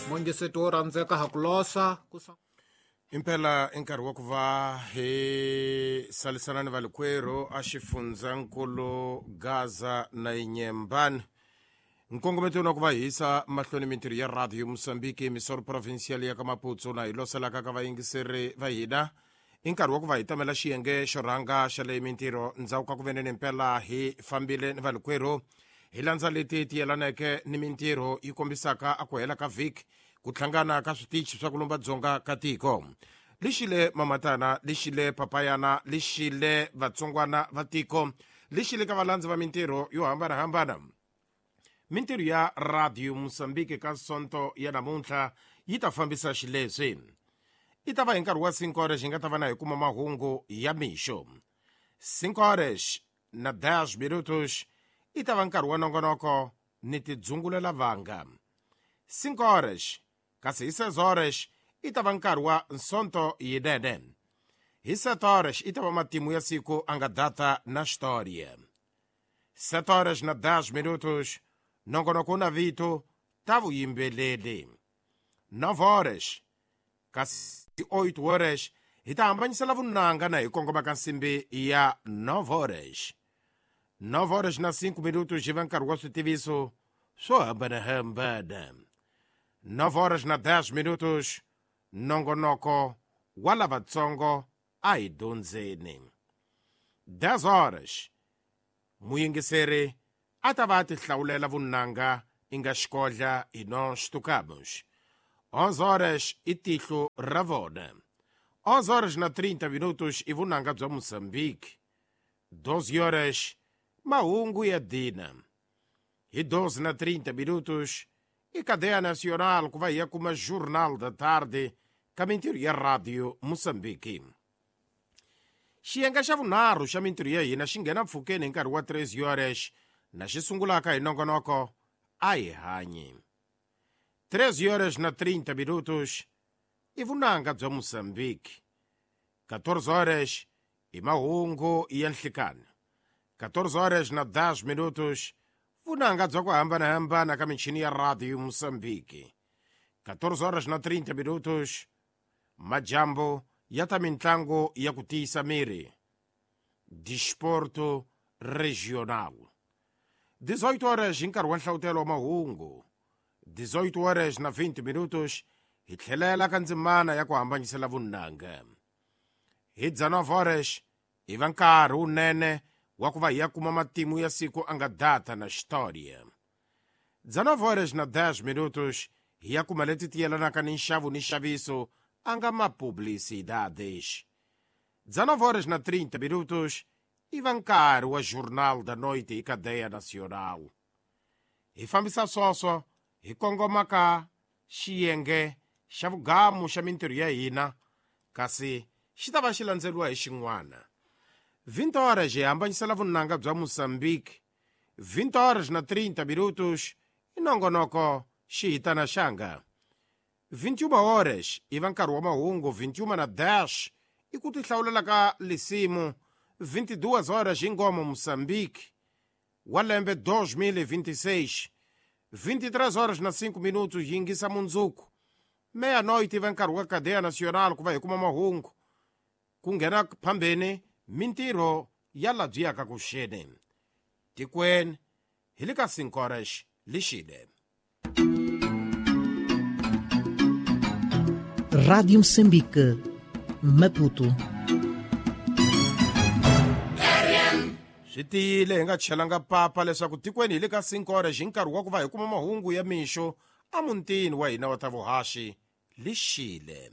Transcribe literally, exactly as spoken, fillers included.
Mongiseti wo rhandzeka ha ku losa ku impela i nkarhi wa ku va hi salisana ni valikwerhu a xifundzankulu Gaza na Inyembani. Nkongometo na ku va hisa mahlweni mintirho ya Radio Mozambique Misoro Provincial ya ka Maputo na hi loselaka ka vayingiseri va hina. I nkarhi wa ku va hi tamela xiyenge xo rhanga xa leyi mintirho ndzhaku ka ku veneni impela hi fambile ni valikwerhu hi landza leti ti yelaneke ni mintirho yi kombisaka a ku hela ka vhiki ku hlangana ka switichi swa ku lumba dzonga ka tiko. Lexile mamatana, lexile papayana, lexile vatsongwana va tiko, lexile ka valandzi va mintirho yo hambanahambana. Mintirho ya Radio Mozambique ka Sonto ya namuntlha yi ta fambisa xileswi. I ta va hi nkarhi wa cinco horas hi nga ta va na hi kuma mahungu ya mixo. cinco horas na dez minutos i ta va nkarhi wa nongonoko ni tidzungulela vanga. cinco horas kasi hi seis horas i ta va nkarhi wa Sonto yinene. Hi sete horas i ta va matimu ya siku a nga data na xitoria. sete horas na dez minutos nongonoko na vito ta vuyimbeleri. nove horas kasi oito horas hi ta hambanyisela vunanga na hi kongoma ka nsimbi ya nove horas. nove horas na cinco minutos hi va nkarhi wa switiviso swo hambanahambana. nove horas na dez minutos nongonoko wa lavatsongo a hi dyondzeni. dez horas muyingiseri a ta va a tihlawulela vunanga i nga xikodla hi nós tocamos. onze horas i tihlo ra vona. onze horas na trinta minutos i vunanga bya Mozambique. doze horas mahungu ya dina. Hi doze na trinta minutos i cadeia nacional ku va hi ya kuma Jornal da Tarde ka mintirho ya Radio Mozambique. Xiyenge xa vunharhu xa mintirho ya hina xi nghena mpfhukeni hi nkarhi wa treze horas na xi sungulaka hi nongonoko a hi hanyi. treze horas na trinta minutos i vunanga bya Mozambique. quatorze horas i mahungu ya nhlikani. quatorze horas na dez minutos vunanga bya ku hambanahambana ka michini ya Radio Mozambique. quatorze horas na trinta minutos majambo ya ta mintlangu ya ku tiyisa miri. Desporto Regional. dezoito horas hi nkarhi wa nhlawutelo wa mahungu. dezoito horas na vinte minutos hi tlhelela ka ndzimana ya ku hambanyisela vunanga. Hi dezenove horas hi va nkarhi wunene wa ku va hi ya kuma matimu ya siku a nga data na xitoria. dezenove horas na dez minutos hi ya kuma leti ti yelanaka ni nxavo ni nxaviso a nga mapublicidades. dezenove horas na trinta minutos i va nkarhi wa Jornal da Noite hi Cadeia Nacional. Hi fambisa swoswo hi kongoma ka xiyenge xa vugamu xa mintirho ya hina kasi xi ta va xi landzeriwa hi xin'wana. vinte horas hi hambanyisela vunanga bya Mozambique. vinte horas na trinta minutos i nongonoko xihitana xanga. vinte e uma horas i va nkarhi wa mahungu. vinte e uma na dez i ku tihlawulela ka lisimu. vinte e duas horas hi ngoma Mozambique wa lembe dois mil e vinte e seis. vinte e três horas na cinco minutos yingisa mundzuku. Meia-noite i va nkarhi wa Cadeia Nacional ku va hi kuma mahungu. Ku nghena phambeni mintirho ya labyiyaka ku xeni. Tikweni hi le ka cinco horas lixile. Rádio Moçambique, Maputo. Swi tiyile hi nga chelanga papa leswaku tikweni hi le ka cinco horas hi nkarhi wa ku va hi kuma mahungu ya mixo emutini wa hina wa ta vuhaxi lixile.